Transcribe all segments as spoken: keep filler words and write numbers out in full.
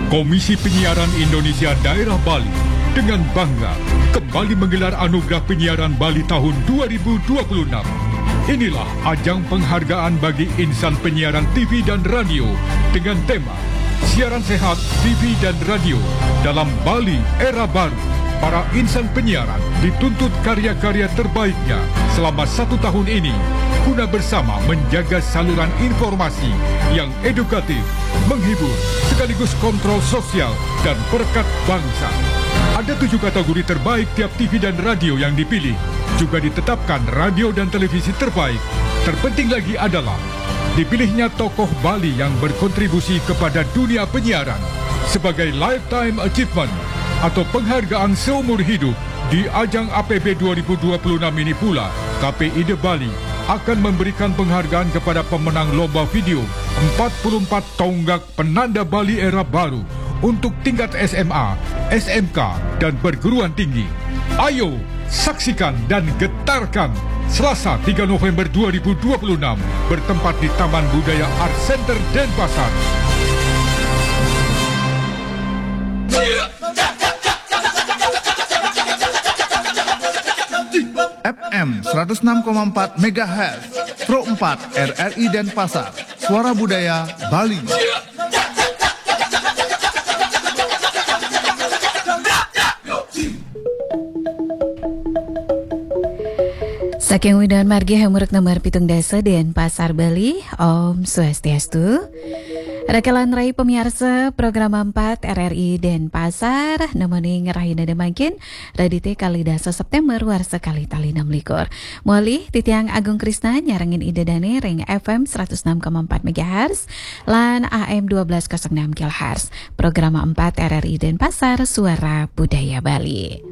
Komisi Penyiaran Indonesia Daerah Bali dengan bangga kembali menggelar Anugerah Penyiaran Bali tahun dua ribu dua puluh enam. Inilah ajang penghargaan bagi insan penyiaran T V dan radio dengan tema Siaran Sehat T V dan Radio dalam Bali Era Baru. Para insan penyiaran dituntut karya-karya terbaiknya selama satu tahun ini guna bersama menjaga saluran informasi yang edukatif, menghibur, sekaligus kontrol sosial dan perekat bangsa. Ada tujuh kategori terbaik tiap T V dan radio yang dipilih. Juga ditetapkan radio dan televisi terbaik. Terpenting lagi adalah dipilihnya tokoh Bali yang berkontribusi kepada dunia penyiaran sebagai Lifetime Achievement atau penghargaan seumur hidup. Di ajang A P B dua ribu dua puluh enam ini pula, K P I D Bali akan memberikan penghargaan kepada pemenang lomba video empat puluh empat tonggak penanda Bali era baru untuk tingkat S M A, S M K, dan perguruan tinggi. Ayo, saksikan dan getarkan Selasa tiga November dua ribu dua puluh enam, bertempat di Taman Budaya Art Center Denpasar. F M seratus enam koma empat megahertz, Pro empat R R I Denpasar, Suara Budaya Bali. Saking Widhan Margi Hamuruk nomor pitung dasa Denpasar Bali, Om Swastiastu. Rakelan rai pemiarsa program empat R R I Denpasar, nemening rahina demangkin, Radite kali dasa September warsa kali tali enam likur. Moli, titiang Agung Krisna nyarengin Ida Dane ring F M seratus enam koma empat megahertz lan A M dua belas kosong enam kilohertz. Program empat R R I Denpasar, Suara Budaya Bali.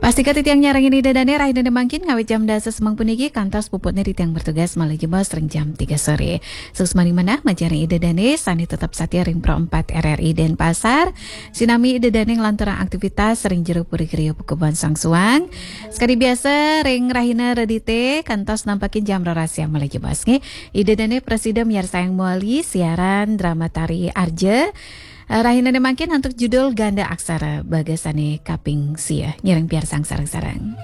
Pastika titiang nyarengin Ida Dane rahina demangkin ngawit jam dasa semeng puniki kantos puputne titiang bertugas malih jebos ring jam tiga sore. Suksmaning manah majeng ring Ida Dane sane tetep satia ring Pro empat R R I Denpasar. Sinami Ida Dane nglanturang aktivitas ring jero puri griya Pakubunan Sangsuang. Sakadi biasa ring rahina Radite kantos nampakin jam roras siang malih jebos nggih. Ida Dane prasida miarsayang mawali siaran drama tari Arja. Eh, Rahinane mangkin antuk judul Ganda Aksara bagasane kaping sia. Nyareng piarsang sareng-sareng.